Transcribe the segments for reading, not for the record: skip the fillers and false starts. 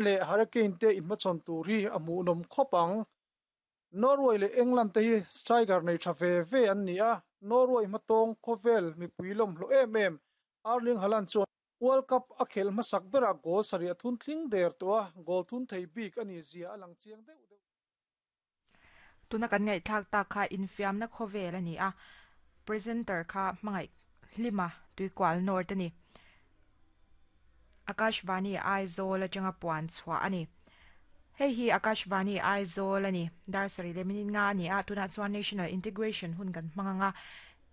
Leh Harry Kane te inhmachhawn tur hi a hmuhnawm khawp ang. Norway leh England te hi striker nei tha ve ve an ni a, Norway hmatawng khawvel mipui lawmhlawh em em Erling Haaland chuan World Cup a khelh hmasak berah goal sarih a thun tling der tawh a, goal thun thei bik a nih zia a lang chiang deuh deuh. Tuna kan ngaihthlak tak kha infiamna khawvel a ni a, presenter kha hmangaih hlima tuikual nawr te ni. Akashvani Aizawl atanga puan chhuah a ni. Hei hi Akashvani Aizawl a ni. Dar sarih leh minute nga a ni a, tunah chuan National Integration hun kan hmang ang a.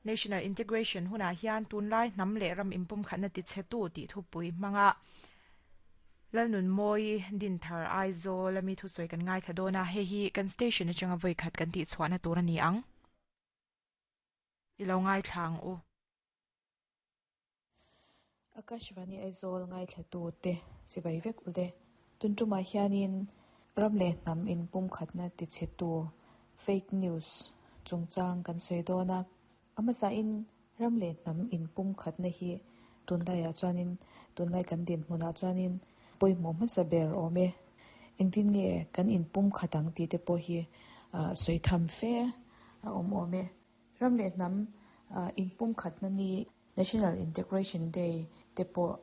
National Integration hunah hian tunlai hnam leh ram inpumkhatna tichhetu tih thupui hmanga Lalnunmawi Dinthar Aizawl ami thusawi kan ngaithla dawn a, hei hi kan station atanga vawi khat kan tihchhuahna tur a ni ang. I lo ngaithla ang u. Akashvani Aizawl ngaithlatu te chibai vek u le. Tun tumah hianin ram leh hnam inpumkhatna tichhetu fake news chungchang kan sawi dawn a. A hmasain ram leh hnam inpumkhatna hi tunlaiah chuanin tunlai kan dinhmunah chuanin pawimawh hmasa ber awm e. Engtin nge kan inpumkhat ang tih te pawh hi sawi tham fe a awm awm e. Ram leh hnam inpumkhatna ni National Integration Day te pawh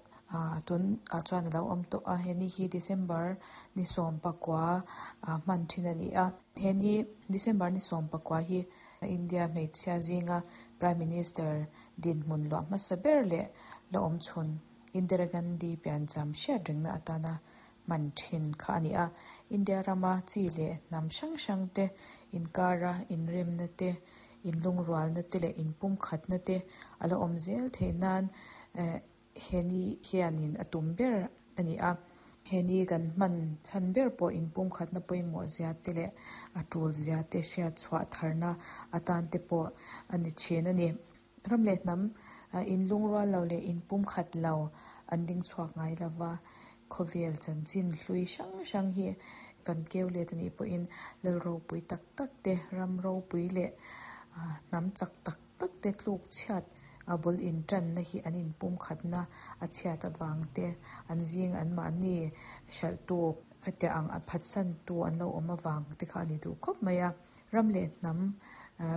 tun ah chuan a lo awm tawh a, he ni hi December ni 19 hman thin a ni a. He ni December ni 19 hi India hmeichhia zinga Prime Minister dinhmun luah hmasa ber leh la awm chhun Indira Gandhi piancham hriat rengna atana hman thin kha a ni a. India rama chi leh hnam hrang hrang te inkara inremna te, inlungrualna te leh inpumkhatna te a la awm zel theih nan he ni hianin a tum ber a ni a. He ni kan hman chhan ber pawh inpumkhatna pawimawh zia te leh a tul zia te hriat chhuah tharna atan te pawh a ni thin a ni. Ram leh hnam inlungrual lo leh inpumkhat lo an ding chhuak ngai lova, khawvel chanchin hlui hrang hrang hi kan keu let a nih pawhin lal ropui tak tak te, ram ropui leh hnam chak tak tak te tluk chhiat a bul intanna hi an inpumkhatna a chhiat avang te, an zing anmahni hralhtu khatiang ang a phatsantu an lo awm avang te kha a ni duh khawp mai a. Ram leh hnam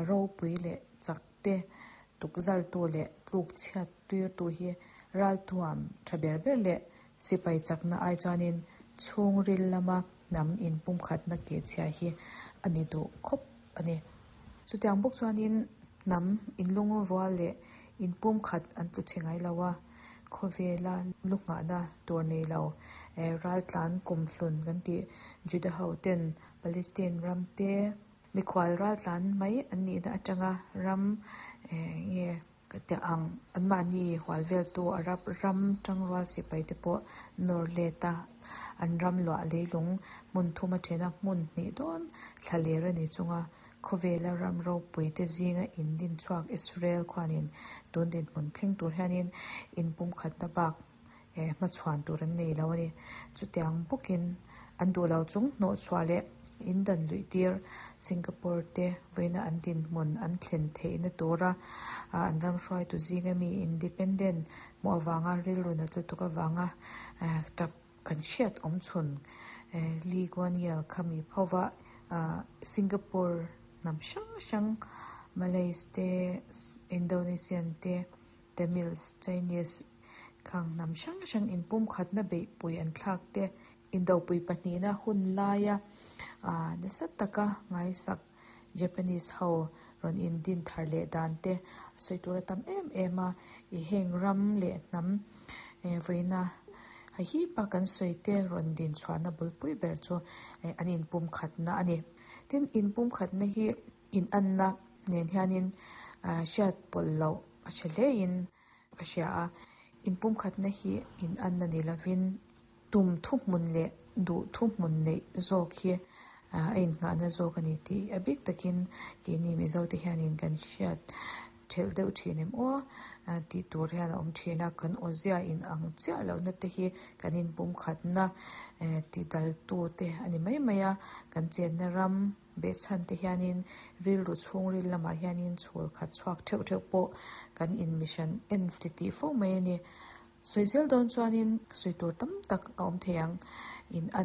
ropui leh chak te, tukzaltu leh tluk chhiat tuirtu hi ralthuam tha ber ber leh sipai chakna ai chuanin chhungril lama hnam inpumkhatna kehchhia hi a ni duh khawp a ni. Chutiang bawk chuanin hnam inlungrual leh inpumkhat an tlu chhe ngai lo a, khawvela lu nghahna tur nei lo raltlan kumhlun kan tih Juda ho ten Palestine ram te, Mikhual raltlan mai an nihna atanga ram nge ka ti ang anmahni hual veltu Arab ram tangrual sipai te pawh nawr let a, an ram luah leilung hmun thum a then a, hmun hnih dawn thla ler a ni chunga khawvela ram ropui te zinga in din chhuak Israel khuanin tun dinhmun thleng tur hianin inpumkhatna bak hmachhuan tur an nei lo a ni. Chutiang bawkin an duh lo chung hnawhchhuah leh in dan luih tir Singapore te vawiina an dinhmun an thlen theihna tura an ram hruaitu zinga mi independent hmuh avanga rilru nat lutuk avanga tap kan hriat awm chhun Lee Kuan Yew kha mi phova Singapore hnam hrang hrang Malays te Indonesian te Tamils, Chinese khang hnam hrang hrang inpumkhatna beihpui an thlak te, indopui pahnihna hun laia nasa taka ngaisak Japanese ho rawn indin thar leh dan te a sawi tur a tam em em a, i heng ram leh hnam vawiina hahipa kan sawi te rawn din chhuahna bulpui ber chu an inpumkhatna a ni. Tin, inpumkhatna hi inanna nen hianin hriat pawlh loh a hre hlein ka hria a, inpumkhatna hi inanna ni lovin tum thuhmun leh duh thuhmun neih zawk hi a innghahna zawk a ni tih a bik takin keini Mizote hianin kan hriat thelh deuh thin em aw tih tur hian a awm thin a, kan awzia inang chiah lohna te hi kan inpumkhatna tidaltu te a ni mai mai a, kan chenna ram Behchhan te hianin rilru chhungril lamah hianin chhul khat chhuak theuh theuh pawh kan inmihran en ti tih fo mai a ni. Sawi zel dawn chuanin sawi tur tam tak a awm thei ang. In a.